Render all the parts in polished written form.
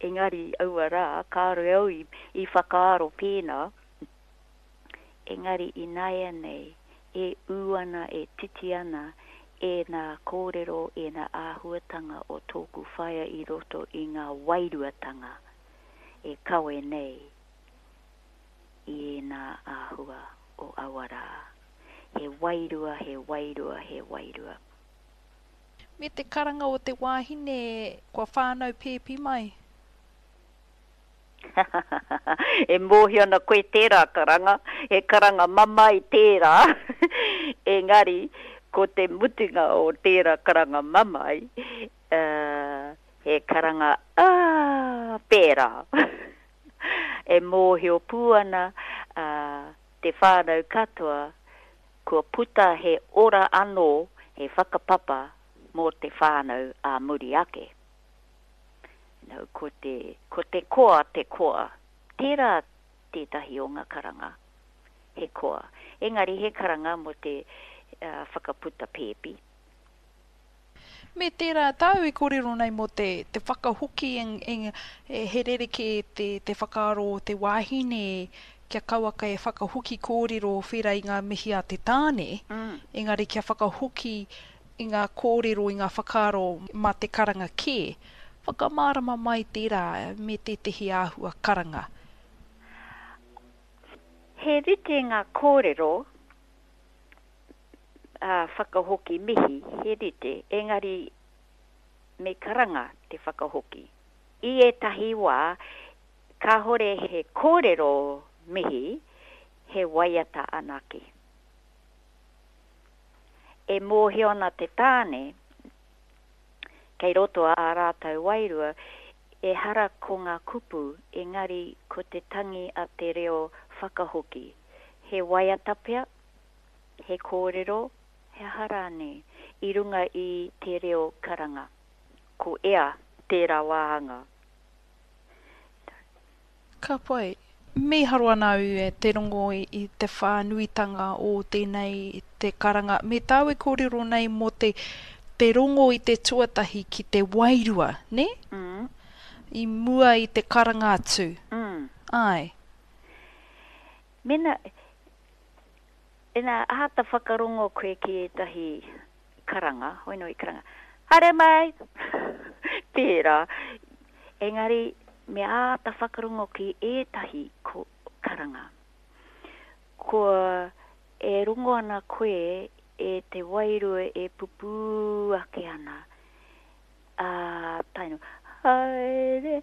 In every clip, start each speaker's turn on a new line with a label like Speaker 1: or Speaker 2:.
Speaker 1: Engari aua rā, kāore au i, i whakaaro pēnā. Engari ināianei, e ū ana, e titi ana ēnā kōrero, ēnā āhuatanga o tōku whaea i roto i ngā wairuatanga e kawe nei i ēnā āhua o aua rā. He wairua, he wairua, he wairua.
Speaker 2: Me te karanga o te wāhine kua whānau pēpi mai.
Speaker 1: E mōhio ana koe tērā karanga, he karanga mamae tērā, engari ko te mutunga o tērā karanga mamae, he karanga aah pērā. E mōhio pū ana te whānau katoa kua puta he ora anō, he whakapapa mō te whānau ā muri ake. No, ko te, ko te koa te koa. Tērā tētahi o ngā karanga, he koa. Engari he karanga mō te uh, whakaputa pēpi.
Speaker 2: Me tērā tāu i kōrero nei mō te, te whakahoki en, en, he rerekē te, te whakaaro o te wāhine kia kauaka e whakahoki kōrero whera i ngā mihi a te tāne, mm. engari kia whakahoki i ngā kōrero, i ngā whakaaro mā te karanga kē. Whakamārama mai tērā me tētehi āhua karanga.
Speaker 1: He rite ngā kōrero ā, whakahoki mihi, he rite, engari me karanga te whakahoki. I ētahi wā, kāhore he kōrero mihi, he waiata anake. E mōhio ana te tāne, kei roto ā rātou wairua, ehara ko ngā kupu, engari ko te tangi a te reo whakahoki. He waiata pea, he kōrero, he aha rānei, i runga i te reo karanga. Ko ea tērā wāhanga.
Speaker 2: Ka pai. Mīharo ana au e te rongo i te whānuitanga o tēnei te karanga. Me tāu e kōrero nei mō te te rongo i te tuatahi ki te wairua, nē?
Speaker 1: Mm.
Speaker 2: I mua i te karanga atu.
Speaker 1: Mm.
Speaker 2: Āe.
Speaker 1: Mēnā, ina āta whakarongo koe ki ētahi karanga, hoi nō i karanga, Haere mai! Tērā. Engari, me āta whakarongo ki ētahi ko, karanga. Kua, e rongo ana koe e te wairua e pupū ake ana, ā, tae noa, Haere,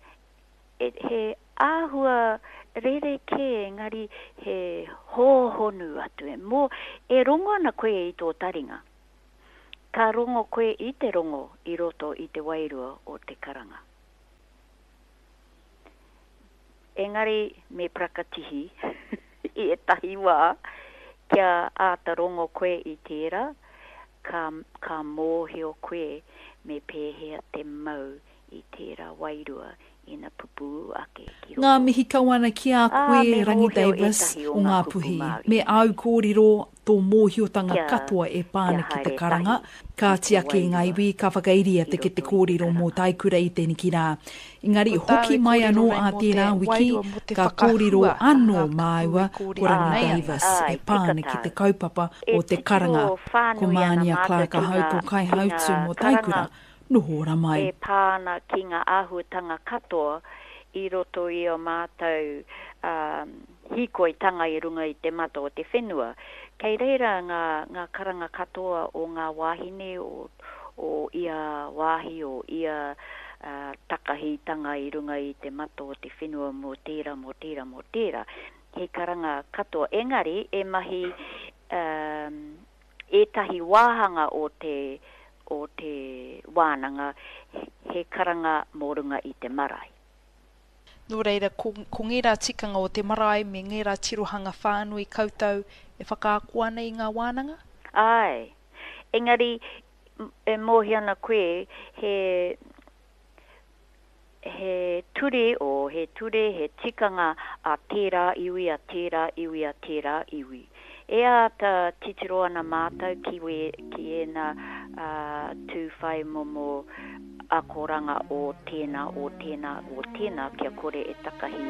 Speaker 1: He āhua rerekē engari he hōhonu atu. Mō, e rongo ana koe i tō taringa. Ka rongo koe i te rongo i roto i te wairua o te karanga. Engari me parakatihi i ētahi wā kia āta rongo koe i tērā, ka, ka mōhio koe me pēhea te mau i tērā wairua ina pupū ake ki
Speaker 3: Ngā
Speaker 1: roto.
Speaker 3: mihi kau ana ki a
Speaker 1: Ā,
Speaker 3: koe
Speaker 1: me
Speaker 3: Rangi
Speaker 1: mōhio
Speaker 3: Davis
Speaker 1: ētahi o
Speaker 3: o
Speaker 1: ngā kupu
Speaker 3: Ngāpuhi,
Speaker 1: Māori
Speaker 3: me
Speaker 1: nei.
Speaker 3: āu kōrero, tō mōhiotanga
Speaker 1: Kia,
Speaker 3: katoa e pā
Speaker 1: kia
Speaker 3: ana ki te
Speaker 1: haere
Speaker 3: karanga.
Speaker 1: tahi
Speaker 3: Ka
Speaker 1: ki te
Speaker 3: tiaki i ngā
Speaker 1: wairua
Speaker 3: iwi, ka whakairia
Speaker 1: i
Speaker 3: te kete
Speaker 1: roto i te
Speaker 3: kōrero mō
Speaker 1: karanga.
Speaker 3: Taikura i teneki rā. Engari
Speaker 2: Ko tāu
Speaker 3: hoki
Speaker 2: e
Speaker 3: mai
Speaker 2: kōrero
Speaker 3: anō
Speaker 2: nei
Speaker 3: ā
Speaker 2: mō te
Speaker 3: tērā wiki,
Speaker 2: wairua, mō te
Speaker 3: ka kōrero
Speaker 2: whakahua a
Speaker 3: anō
Speaker 2: ngā kupu e
Speaker 3: māua ko
Speaker 2: kōrero
Speaker 3: Rangi
Speaker 2: nei
Speaker 1: Āe,
Speaker 2: ana.
Speaker 3: Davis e
Speaker 1: āe,
Speaker 3: pā
Speaker 1: tika
Speaker 3: ana ki te
Speaker 1: tāu.
Speaker 3: kaupapa
Speaker 1: E
Speaker 3: o te
Speaker 1: titiro
Speaker 3: karanga. Ko
Speaker 1: whānui ana
Speaker 3: Mānia
Speaker 1: mātou
Speaker 3: Clark
Speaker 1: ki
Speaker 3: ahau
Speaker 1: ngā,
Speaker 3: tō
Speaker 1: ki ngā
Speaker 3: kaihautū mō
Speaker 1: karanga
Speaker 3: Taikura, noho ora mai.
Speaker 1: e pā ana ki ngā āhuatanga katoa i roto i ō mātou hīkoitanga i runga i te mata o te whenua. Kei reira ngā, ngā karanga katoa o ngā wāhine o, o ia wāhi, o ia takahitanga i runga i te mata o te whenua mō tērā, mō tērā, mō tērā. He karanga katoa. Engari, e mahi ētahi wāhanga o te, o te wānanga, he karanga mō runga i te marae.
Speaker 2: Nō reira, ko, ko ngērā tikanga o te marae me ngērā tirohanga whānui koutou e whakaako ana i ngā wānanga?
Speaker 1: Āe. Engari, e mōhio ana koe, he, he ture, o, he ture, he tikanga a tērā iwi, a tērā iwi, a tērā iwi. E āta titiro ana mātou ki, we, ki ēnā, ā, tū whai momo. akoranga o tēnā, o tēnā, o tēnā kia kore e takahi.